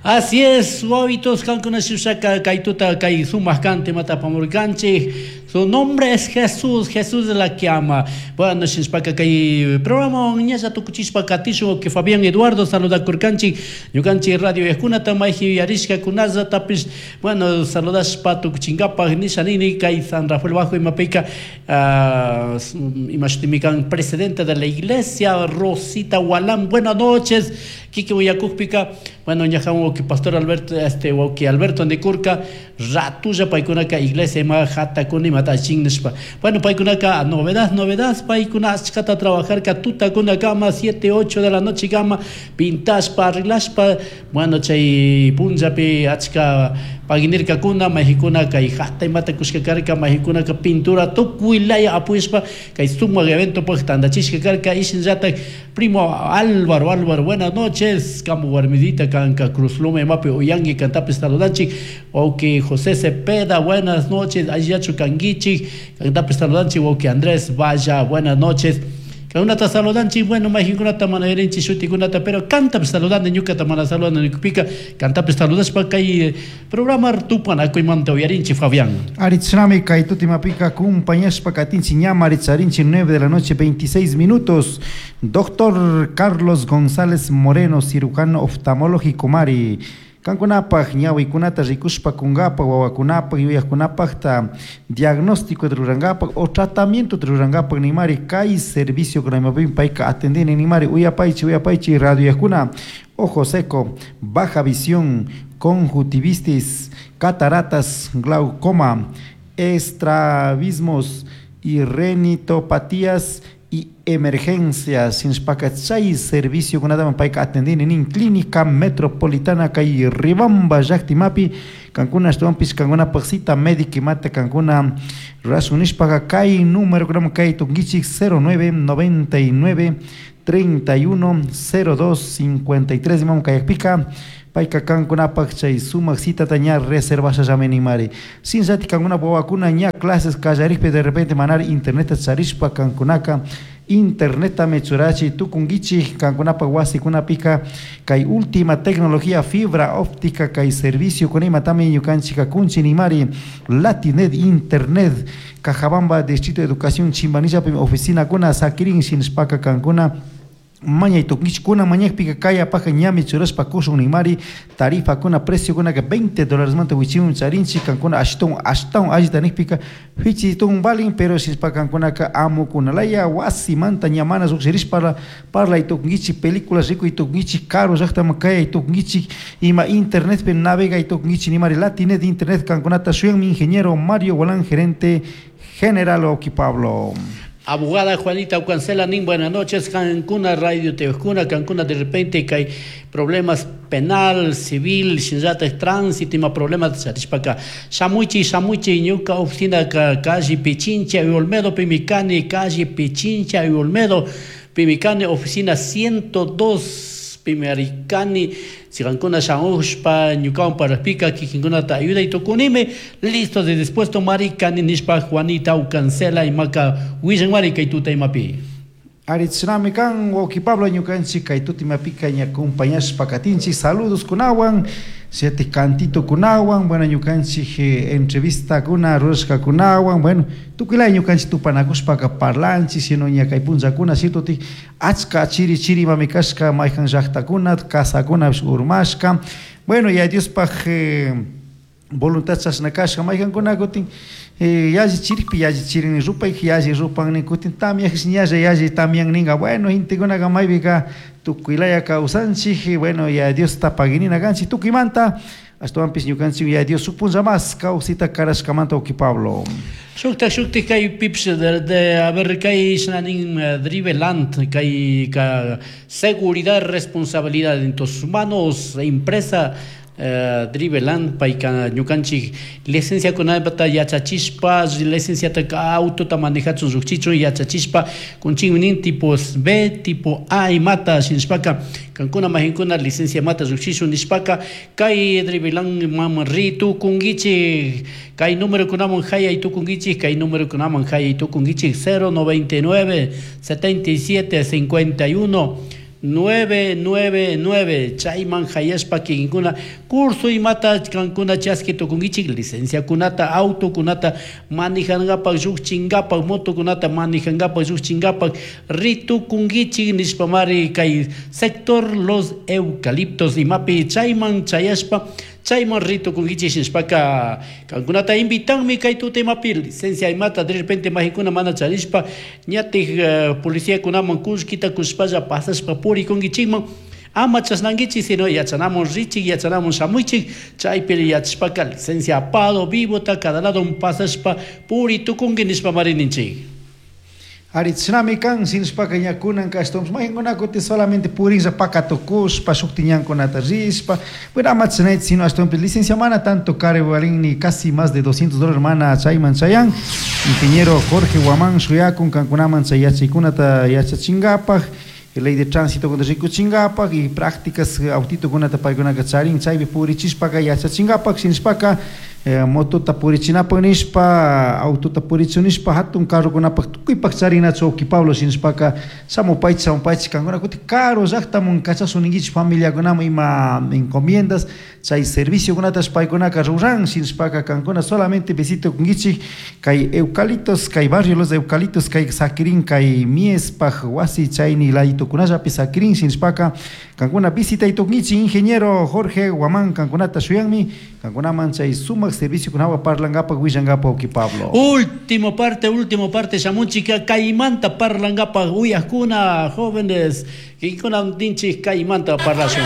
Así es, wawitos kankuna shushaka kay tuta kay sumak kan temata apamurkanchik. Su nombre es Jesús, Jesús de la que ama. Bueno, shinashpaka kay programa ñalla tukuchishpa katishun que Fabián Eduardo saludakurkanchik. Ñukanchik radio yakunata mayji yuyarishkakunallatapish, bueno, saludashpa tukuchinkapak nisha nini kay San Rafael Bajo imapika imashutimi kan presidente de la iglesia Rosita Gualán. Buenas noches. Kikin uyakukpika, bueno, ñajan wawki pastor Alberto, este wawki Alberto nikurka, ratulla paykunaka iglesia ima hatakuna imata allichin nishpa. Bueno, paykunaka novedad, novedad, paykuna achkata trabajarka tutakunakama, 7, 8 de la noche kama, pintashpa, arreglashpa, bueno, chay punllapi achka paginirkakuna, mayjikuna kay hata imata kushka karka, mayjikunaka pintura tukuy laya apoyashpa kay sumak eventopaj tandachishka karka, y shinallatak primo Álvaro, Álvaro, buenas noches, kambu warmidita kanka Cruz Loma imapi uyanki kantapish saludanchik, wawki José Cepeda, buenas noches, allillachu kankichik, kantapish saludanchik, wawki Andrés Valla, buenas noches. Kankunata saludanchik, bueno, mayjinkunata mana yurinchik shutikunata, pero kantapish saludani, ñukata mana saludani nikupika, kantapish saludashpa kay programa tupanakuymanta uyarinchik, Fabián. Aritznami kay tutimapika acompañashpa katinchik ña maritzarinchik 9 de la noche 26 minutos. Doctor Carlos González Moreno, cirujano oftalmológico mari. Kankunapaj ñawikunata rikushpa kunkapak wawakunapak yuyakkunapakta diagnóstico rurankapak o tratamiento rurankapak nimari kay servicio kunamapimi payka atendini nimari uyapaychi uyapaychi radio ojo seco, baja visión, conjuntivitis, cataratas, glaucoma, estrabismos y renitopatías y emergencias. Sinshpaka chay servicio kunataman payka atendini nin Clínica Metropolitana kay Ribamba llaktimapi kankuna ashtawanpish kankunapaj cita médica imata kankuna rurashun nishpaka kay número kunaman kay tukunkichik 09 99 31 02 53 imaman kayakpika payka kankunapaj chay sumak citata ña reservashallami nimari. Shinllatik kankunapaj wawakuna ña clases kallarikpi de repente manari interneta charishpa kankunaka internetami churachi tukunkichik kankunapaj wasikunapika kay última tecnología fibra óptica kay servicio kuna imatami ñukanchik kunchi nimari. Latinet Internet Cajabamba, Distrito de Educación Chimbanillapi oficina kuna sakirin shinashpaka kankuna mañay tukunkichik mañakpika kay apaja ñami churashpa kushun nimari tarifa kuna precio kunaka $20 manta wichimun charinchik kankuna ashtawan ashtawan allita nikpika fichitun valin, pero shinashpa kankunaka amukunalaya wasimanta ña mana llukshirishpa parlay tukunkichik películas rikuy tukunkichik karu llaktaman kayay tukunkichik ima internetpi navegay tukunkichik nimari. Latinet Internet kankunata shuyanmi ingeniero Mario Gualán, gerente general Oki Pablo. Abogada Juanita Cancela nin, buenas noches, Cancuna Radio Tevcuna, Cancuna de repente que hay problemas penal, civil, shinllata tránsito, ima problemas charishpaka. Shamuichi, shamuichi, ñuka oficina calle Pichincha y Olmedo, Pimicani, calle Pichincha y Olmedo, Pimicani, oficina 102, Pimaricani, si cancuna shamushpa, ñukawan parapika, kikinkunata ayuda y tukunime, listo de dispuesto maricani nishpa Juanita Ucancela y maca willan mari kay tuta imapi. Aritznami kan wawki Pablo ñukanchik kay tuta imapika ña acompañashpa katinchik saludos kunawan, siete cantito kunawan, bueno ñukanchik entrevista kuna rurashka kunawan, bueno tukuylaya ñukanchik tupanakushpaka parlanchik, sino ña kay punllakuna cierto tik achka chiri chiri imami kashka mayjan llaktakuna kasakunapish urmashka, bueno ya Diospaj voluntad chashna kashka mayjankuna kutin yalli chirikpi yalli chirini rupay yalli rupan nin kutin tamyajish ñalla yalli tamyan ninga, bueno gentekunaka maypika tukuylaya kawsanchik, bueno ya Diosta paginina kanchik tukuymanta ashtawanpish ñukanchik ya Dios shuk punlla mas kawsita karashkamanta Oki Pablo. Shuktak shuktik kay pips de a ver kay shinanin Driveland kay ka seguridad responsabilidad en tus manos empresa Driveland payka ñukanchik licencia kunapata yachachishpa licenciata autota manejachun llukchichun yachachishpa kunchinmi nin tipo B tipo A imata shinashpaka kankuna majinkuna licencia mata llukchishun nishpaka kay Driveland mama ri tukunkichik kay número kunaman hayay tukunkichik kay número kunaman hayay tukunkichik 099 77 51 999 chayman hayashpa kikinkuna curso imata kankuna chaski tukunkichik licenciakunata autokunata manijankapak llukchinkapak motokunata manijankapak llukchinkapak ritukunkichik nishpamari kay sector Los Eucaliptos imapi chayman chayashpa chayman ritukunkichik nishpaka kankunata invitanmi kay tuta imapi licencia imata de repente majikuna mana charishpa ñatik policiakunaman kullkita kushpalla pasashpa purikunkichikman ama chasnankichik sino yachanamun richik yachanamun shamuychik chaypi yachashpaka licencia apado vivota cada lado pasashpa puritukunki nishpamari ninchik. Ari chinami kan sinshpaka ña kunanka ashtawanpish maykankuna kutin solamente purinlla pakatukushpa shukti ñankunata rishpa, bueno ama chinayta sino ashtawanpish licencia mana tanto caro valin casi más de $200 mana chayman chayan. Ingeniero Jorge Guamán shuyakun kankunaman chay yachaykunata yachachinkapak, ley de tránsito kunata rikuchinkapak y prácticas autitokunata paykunaka charin chaypi purichishpaka yachachinkapak shinashpaka motota purichinapak nishpa autota purichunishpa hatun carrokunapak tukuypak charinachu wawki Pablo shinashpaka shamupaychik shamupaychik kankuna kutin karu llaktamun kachashun familiakunaman ima encomiendas chay serviciokunatash paykunaka ruran shinashpaka kankuna solamente visita kunkichik kay Eucaliptos kay barrio Los Eucaliptos kay sakirin kay Miespak wasi chayni laditokunallapi sakirin shinashpaka kankuna visitaytukunkichik ingeniero Jorge Guamán kankunata shuyanmi kankunaman chay sumak serviciokunawan parlankapak willankapak wawki Pablo. Último parte shamunchika kaymanta parlankapak uyakuna jóvenes kinkuna ninchik kaymanta parlashun.